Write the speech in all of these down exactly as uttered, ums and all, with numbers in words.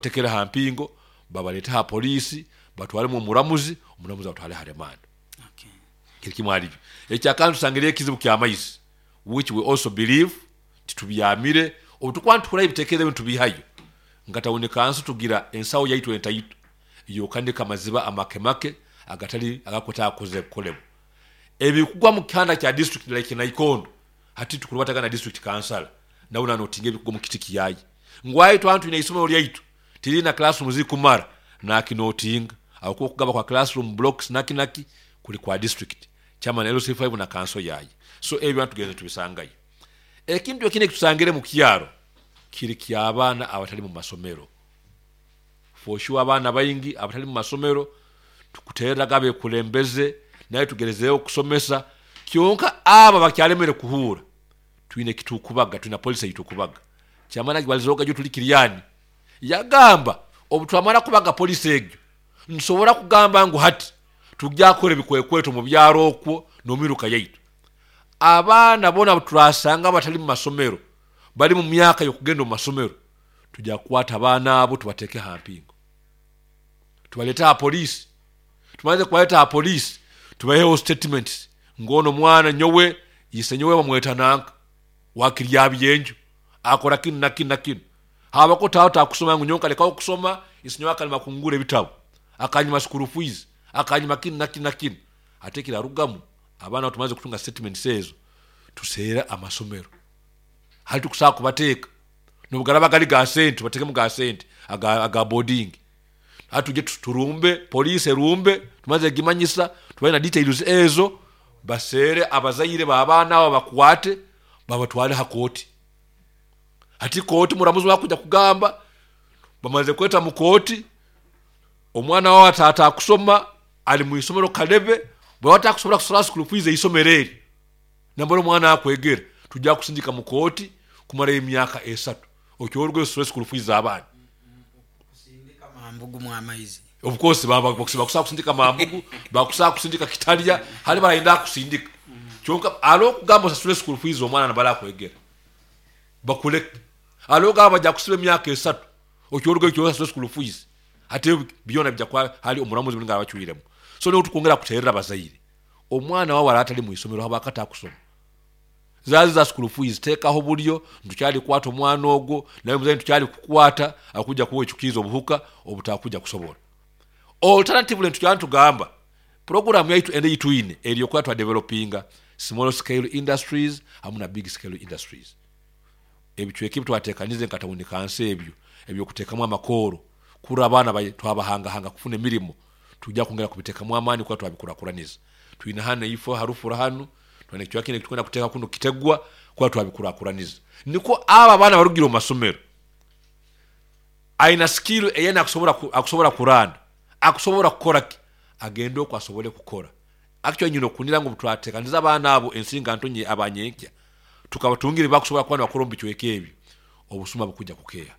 Tekera ha mpingo, babalete ha poliisi, batwalemu omuramuzi, omuramuzi abatwale ha remand. Okay. Kiri kimu alibyo. Ekyakandi, tusangire ekizibu kyamaizi, which we also believe titubyamire. Obu tukuba nituhurayo ebitekerezo ebi nitubihayo nka town council, tugira ensawo yaitu entaito yokanika amaziba amake make agatali agakwetaaga kukolebwa, ebikugwa mu kihanda kya district like Naikondo. Hati tukurubataga na district council, nawe nanotinga ebikugwa mu kiti kiyayi ngwayi. Twana twine isomero lyaitu tirina classroom zikumara, nakinotinga aho okugaba kwa classroom blocks naki naki kuli kwa district chairman L C five na council yayi. So ebyo tugenze tubisangayo. Ekintu ekindi ekitusangire mu kyaro kiri ky'abaana abatali mu masomero. For sure, abaana baingi abatali mu masomero tukutereraga abekulembeze, naye tugerezeyo okusomesa, kyonka aba bakyalemere kuhuura. Twine kitukubaga, twina policy yitukubaga. Kyamana balizoga jo tuli kiryani yagamba obu twamara kubaga policy egyo, nsobora kugamba ngu hati tujja kukora ebikwekweto mu byaro okwo n'omiruka yaitu. Abaana bona turasanga batali mu masomero, bali mu myaka y'okugenda mu masomero, tujja kukwata abaana abo, tubateeke ha mpingo, tubalete ha poliisi. Tumaze kubaleta ha poliisi, tubaheho statements ngono mwana nyowe ise nyowe bamweta nanka wakirya byenju, akora kinu na kinu na kinu, habako tawo takusoma, ngu nyowe nkalekaho kusoma, ise nyowe akalima kungura ebitabo, akanyima school fees, akanyima kinu na kinu na kinu. Ate kirarugamu, abaana tumaze kutunga statements ezo, tuseera amasomero hali tukusaa kubateeka nobugaraba gali ga sente, tubatekemu ga sente aga, aga boarding. Hati tuje turumbe police erumbe, tumaze gimanyisa, tubaye na details ezo, baseere abazaire b'abaana abo, bakwate babatwale ha kooti. Hati kooti muramuzi wakuja kugamba bamaze kweta mu kooti, omwana wawe atata akusoma, ali mu isomero Kalebe, bwaba atakusobola kusasula school fees eisomero eri nambara omwana akwegera, tujja kusindika mu kooti kumara emyaka esatu okyoruga osasule school fees z'abaana. Kusindika mambugu mu amaizi. Of course baba bakusaa kusindika mambugu, bakusaa kusindika kitalya, hali barayenda kusindika, kyonka alo okugamba osasule school fees omwana nabala akwegera, bakuleke. Alo ogamba bajja kusiba emyaka esatu, okyoruga ekyo osasule school fees. Ate byona bijja kwa hali omulamuzi nga abacwiremu. So niho tukwongera kuterera abazaire, omwana wawe ara atali mu isomero habakata akusoma, zazi za school fees, teekaho bulyo ntukyali kukwata omwana ogwo, naye muzaire ntukyali kukwata, akujja kuwa ekikiiza obuhuka obutakuja kusobola. Alternatively, ntukyali ntugamba program yaitu ende yitwine eri okuba twa developinga small scale industries hamu na big scale industries. Ebicweka ebi twatekanize nka town council, ebyo ebyokuteekamu amakooro kura abaana bai- twabahangahanga kufuna emirimo, tujja kwongera kubiteekamu amaani kuba twabikurakuraniza. Twine hano ifo harufura hanu, twine ekicweka kindi tukwenda kuteeka kuno kitegwa kuba twabikurakuraniza, niko aba abaana barugira omu masomero aina skill eyena akusobola ku- akusobola kuranda, akusobola kukora ki, agende okwo asobole kukora. Actually, nyina okunira ngu twatekaniza abaana abo ensinga ntonye abanyenkya tukabatungira bakusobola kuba nibakora omu bicweka ebyo, obusuma bukujja kukeeya,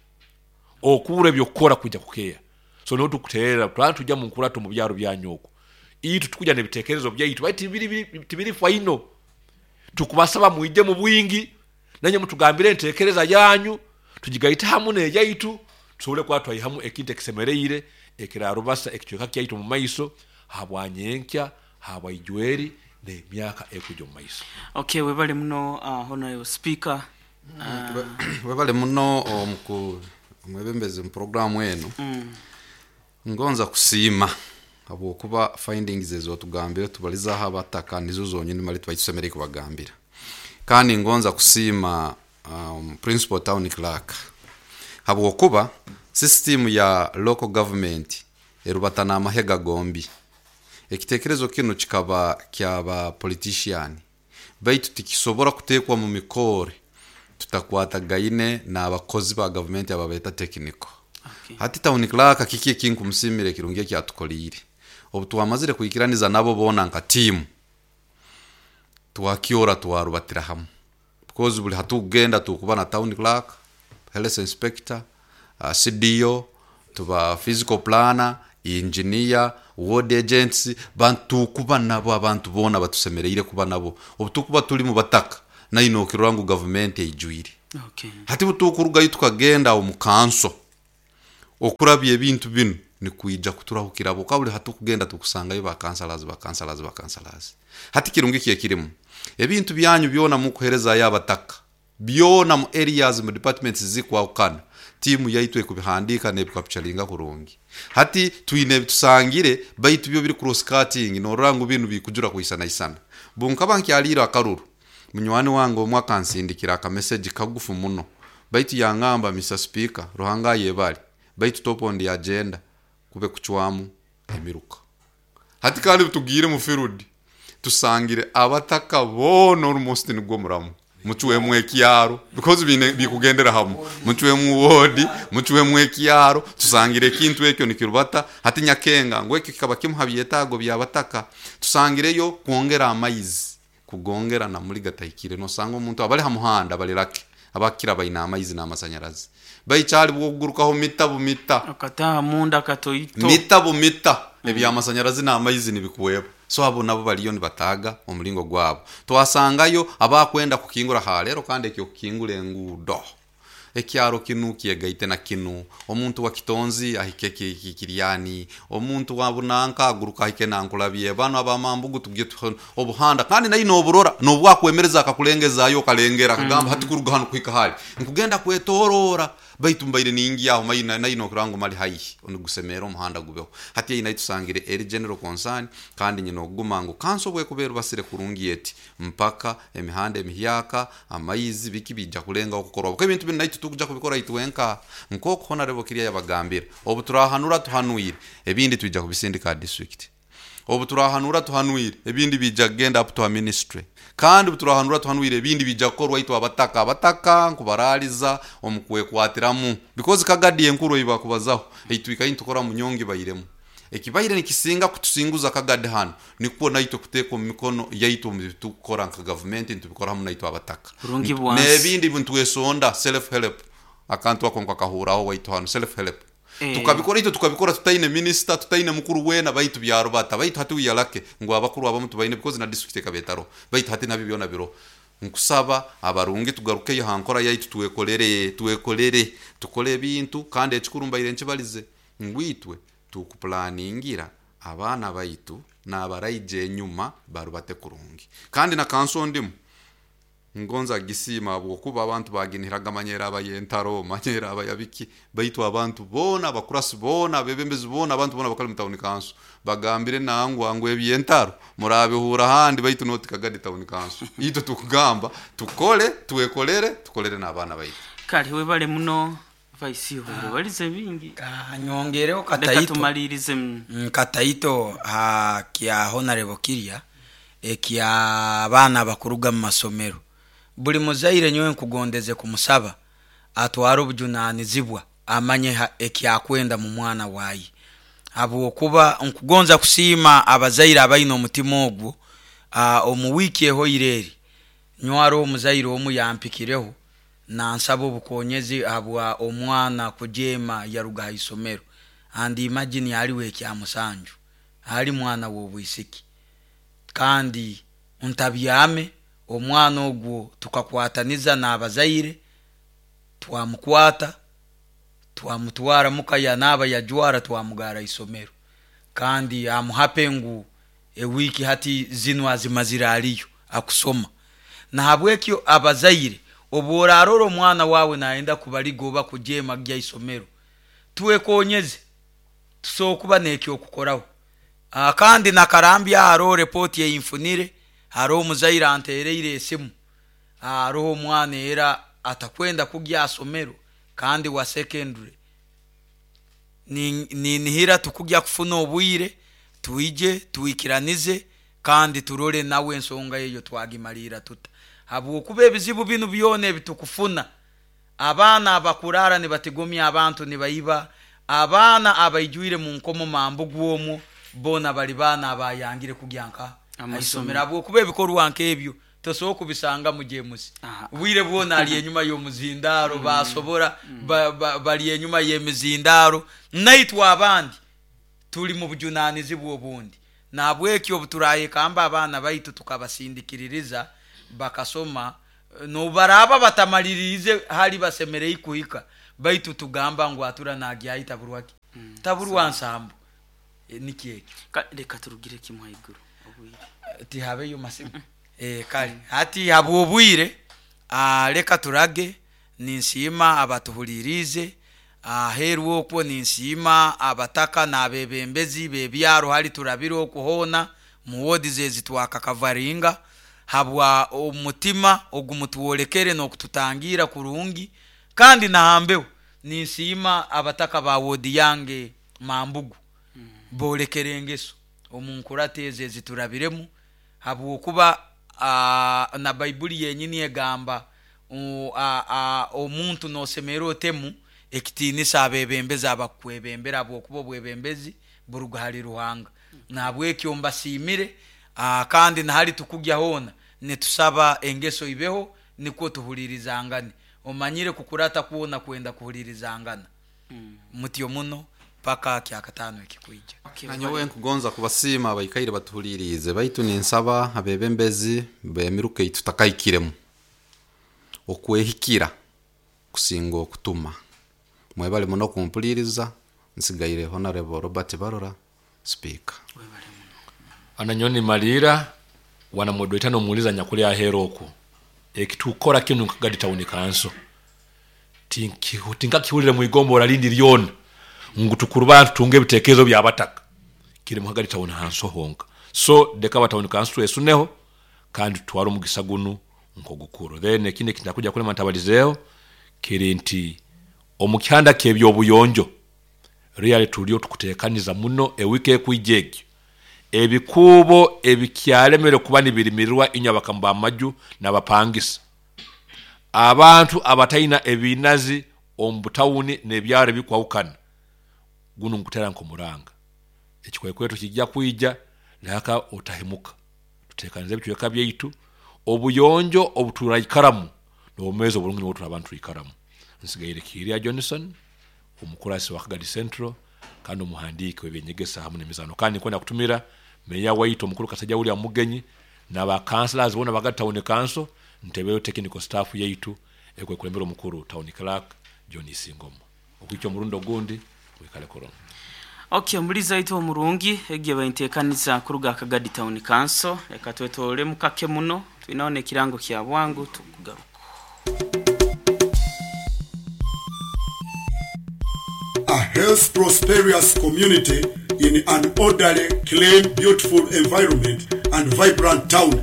okubura ebyokukora kujja kukeeya. So niho tukuterera twala tujja mu nkurato mu byaro byanyu okwo, itu tukuja n'ebitekerezo byaitu, baitu tibiri biri- tibiri final. Tukubasaba mwije mu bwingi, nanye mutugambire entekereza yanyu, tugigaite hamu n'eyaitu, tusobole kuba twaihamu ekintu ekisemereire ekirarubasa ekicweka kyaitu mu maiso habwanyenkya, habwaijweri n'emyaka ekujja omu maiso. Okay, webale muno, uh, honorable speaker uh, Webale muno omuku omwebembezi mu programu eno. mm, Ngonza kusiima habwokuba findings ezo tugambire tubalizaho abataka nizo zonyini mali tubaitusemerere kubagambira. Kandi ngonza kusiima um, principal town clerk habwokuba system ya local government erubata n'amahega gombi. Ekitekerezo kinu kikaba kyaba politician, baitu tikisobora kutekwa mu mikore tutakwatagaine n'abakozi ba gavumenti ababeeta technical. Okay. Hati town clerk kiki ekinkumusimira ekirungi ekyatukoliire, obu twamazire kwikiraniza nabo boona nka tiimu, twakyora twarubatira hamu, because buli hatukugenda tukuba na town clerk, health inspector, uh, C D O, tuba physical planner, engineer, ward agents, bantu tukuba nabo, abantu boona batusemereire kuba nabo. Obu tukuba tuli mu bataka, naino okirora ngu gavumenti eijwire. Okay. Hati butukurugayo tukagenda omu kanso. Okurabya ebintu binu nikwija kuturahukira bukabuli hatukugenda tukusangayo ba councillors, ba councillors, ba councillors. Hati kirungi ki ekirimu ebintu byanyu byona mukuherezayo abataka byona mu areas, mu departments zikwahukana, tiimu yaitu ekubihandika nebikapchalinga kurungi. Hati twine ebitusangire baitu byo biri cross cutting, norora ngu binu bikujura kuisana isana. Bunkaba nkyalira akaruru, munywani wange omwe akansindikira akamessage kagufu muno, baitu yangamba, "Mister Speaker, Ruhanga yebali, baitu top on the agenda kube kucwamu emiruka." Hati kandi tugire mu field tusangire abataka boona almost nigwo muramu mucwemu ekyaro, because bine bikugendera hamu, mucwemu wodi, mucwemu ekyaro. Tusangire ekintu ekyo nikirubata. Hati nyakenga ngu ekyo kikaba kimu ha byetaago by'abataka. Tusangireyo kwongera amaizi, kugongera na muri gatahikire, nosanga omuntu abali ha muhanda balirake abakira bayina amaizi n'amasanyarazi, baikyali bwokugurukaho mita bumita. Akataha munda katoito. Mita bumita ebyamasanyarazi n'amaizi nibikuweba. So abo nabo baliyo nibataga omulingo gwabo. Twasangayo abakwenda kukingura halero, kandi ekyo kukingura enguudo, ekyaro kinu kyegaite na kinu, omuntu wa Kitonzi ahike ki- ki- Kiryani, omuntu wa Bunanka aguruka ahike Nankulabye, bano abamambugu tugye tuho- obuhanda. Kandi naye noburora nobwakwemereza akakulengezayo okalengera akagamba, "Hati kuruga hano kuhika hali nkugenda kwetorora, baitu mbaire ningi aho maina nayo nokurango mali haihi onigusemera omuhanda gubeho." Hati eyi nayo tusangire eri general concern. Kandi nyina okuguma ngu kanso bwekubeera basire kurungi eti mpaka emihanda emihyaka, amaizi, biki bijja kulengaho kukorwa, kuko ebintu binu naitu tukuja kubikora itwenka. Nk'oku Honorable Kirya yabagambira, obu turahanura tuhanuire, ebindi twija kubisindika district. Obu turahanura tuhanuire, ebindi bijja kugenda up to a ministry. Kandi obu turahanura tuhanuire, ebindi bijja kukorwa itwe abataka. Abataka nkubaraliza omu kwekwatiramu, because Kagadi enkuru eibakubazaho eitwikayi nitukora munyongi bairemu ekibaire nikisinga kutusinguza Kagadi hano, nikwo naitwe kuteeka omu mikono yaitu omu bitukukora nka gavumenti, nitubikora hamu naitwe abataka. Burungi bwansi. N'ebindi nitwesonda self help, akantu ako nkakahuraho waitu hano, self help. Eh. Tukabikora itwe, tukabikora tutaine minister, tutaine mukuru wena, baitu byarubata. Baitu hati wiyalake ngu abakuru abamu tubaine, because na district ekabetaro, baitu hati nabyo byona biro. Nkusaba abarungi tugarukeyo hankora yaitu, twekolere, twekolere, tukole ebintu. Kandi ekikuru mbaire nkibalize ngwitwe tukupulaningira abaana baitu n'abaraija enyuma barubate kurungi. Kandi na kanso ndimu ngonza gisiima habwokuba abantu baginihiraga manyera abayentaro, manyera abayabiki, baitu abantu boona, abakurasi boona, abebembezi boona, abantu boona bakali mu town council bagambire nangwa ngu ebyentaro murabihura handi, baitu noti Kagadi Town Council. Itwe tukugamba tukole, twekolere, tukolere n'abaana baitu. Kale webale muno vice, obaire balize bingi. Ah, nyongereho Leka kataito. Tumalirize mm. Mm, kataito ha kya Honorable Kirya ekya abaana abakuruga mu masomero. Buli muzaire nyowe nkugondeze kumusaba atware obujunanizibwa, amanye ha- ekyakwenda mu mwana waye, habwokuba nkugonza kusiima abazaire abaine omutima ogwo. Ah, omu wiiki ehoire eri nywaro omuzaire omu yampikireho nansaba obukonyezi habwa omwana kujeema yaruga ha isomero, and imagine aliwo ekyamusanju, ali mwana w'obwisiki. Kandi ntabyame omwana ogwo, tukakwataniza n'abazaire, twamukwata, twamutwara muka, yanaaba, yajwara, twamugara isomero. Kandi amuhape ngu ewiiki hati zinu azimazire aliyo akusoma. Nahabwekyo abazaire, obworarora omwana wawe nayenda kubaliga oba kujeema gya isomero, twekonyeze, tusobola kuba nekyokukoraho. Ah, kandi nakarambya hariho repoti eyinfunire, hariho omuzaire antereire esimu, hariho omwana era atakwenda kugya asomero kandi wa secondary. Ni- ninihira tukugya kufuna obwire twije twikiranize kandi turole nawe ensonga eyo twagimalira tuta, habwokuba ebizibu binu byona ebitukufuna, abaana abakurara nibatigomya abantu, nibaiba, abaana abaijwire mu nkomo mambugu omwo, boona bali baana abayangire kugya nka Amasomero. aisomero, habwokuba ebikorwa nk'ebyo tosobola kubisanga mu jemusi. Aha. Bwire bwona ali enyuma y'omuzindaaro, basobora ba- ba- bali enyuma y'emizindaaro. Naitwe abandi tuli mu bujunanizibwa obundi, nabwekyo obu turayekamba abaana baitu tukabasindikiririza bakasoma, nobaraba batamalirize hali basemerei kuhika. Baitu tugamba ngu atura nagyayi taburwaki mm. Taburwa nsambu. E, nikyo ekyo. Ka- reka turugire kimwe haiguru obwire. Tihabeyo masimu. E, kale hati habwobwire, ah, leka turage. Ninsiima abatuhulirize aheru okwo, ninsiima abataka n'abebembezi bebyaro hali turabire okuhoona mu wodi zezi twakakavaringa habwa omutima ogumutwolekere n'okututangira kurungi. Kandi nahambeho ninsiima abataka ba wodi yange Mambugu bolekere engeso omu nkurata ezo eziturabiremu, habwokuba ah, na Baibuli yenyini egamba u- a- a- omuntu nosemera otemu ekitiinisa abebembezi abakukwebembera, habwokuba obwebembezi buruga hali Ruhanga. Nahabwekyo mbasiimire, ah, kandi nahali tukugya hoona nitusaba engeso ibeho nikwo tuhulirizangane. Omanyire kukurata kwona kwenda kuhulirizangana mutyo muno paka kyakataano ekikwija. Okay, Nanyowe nkugonza kubasiima abaikaire batuhuliriize, baitu ninsaba abebembezi bemiruka ei tutakaikiremu okwehikira kusinga okutuma. Mwebale muno kumpuliriza. Nsigaire Honorable Robert Barora, Speaker. Webale muno. Ananyoni malira wanamodoita nomuuliza nyakuli ahera okwo ekitukora kinu nkagadi town council tinki- tinkakihulire mwigombora lindi lyona ngu tukuru bantu tunge ebitekerezo byabataka kiri muhagadi town hanso honka. So deka ba town council esuneho kandi tutware omugisa gunu nkogukuru. Then ekindi ekintakuja kulema ntabalizeeho kiri nti omukyanda ky'ebyobuyonjo really tuliyo tukutekaniza muno ewiki ekwija egyo ebikuubo ebikyalemere kuba nibirimirirwa inywe abakamu b'amaju n'abapangisa abantu abatalina ebinazi omu butawuni n'ebyaro ebikwahukana gunu nkutera nk'omuranga ekikwekweto kijja kwija laka otahemuka. Tutekanize ebicweka byaitu obuyonjo obuturaikaramu n'obumezi oburungi nibwo turabantu twikaramu. Nsigaire Kiria Johnson, omukurasi wa Kagadi Central kandi omuhandiiki w'ebyenyegesa hamu n'emizaano, kandi nkwenda kutumira meya waitu omukuru Kasajja William Mugenyi n'aba councillors bona baga town council ntebeyo technical staff yaitu ekwekulembera omukuru town clerk John Isingoma. Okwica omurundi ogundi wikale kurungi. Okay, omulizi waitu omurungi egiye baintekaniza kuruga Kagadi Town Council. Reka twetolole mukake muno twinaona ekirango kya bwangu tukugaruka. A health prosperous community in an orderly, clean, beautiful environment and vibrant town.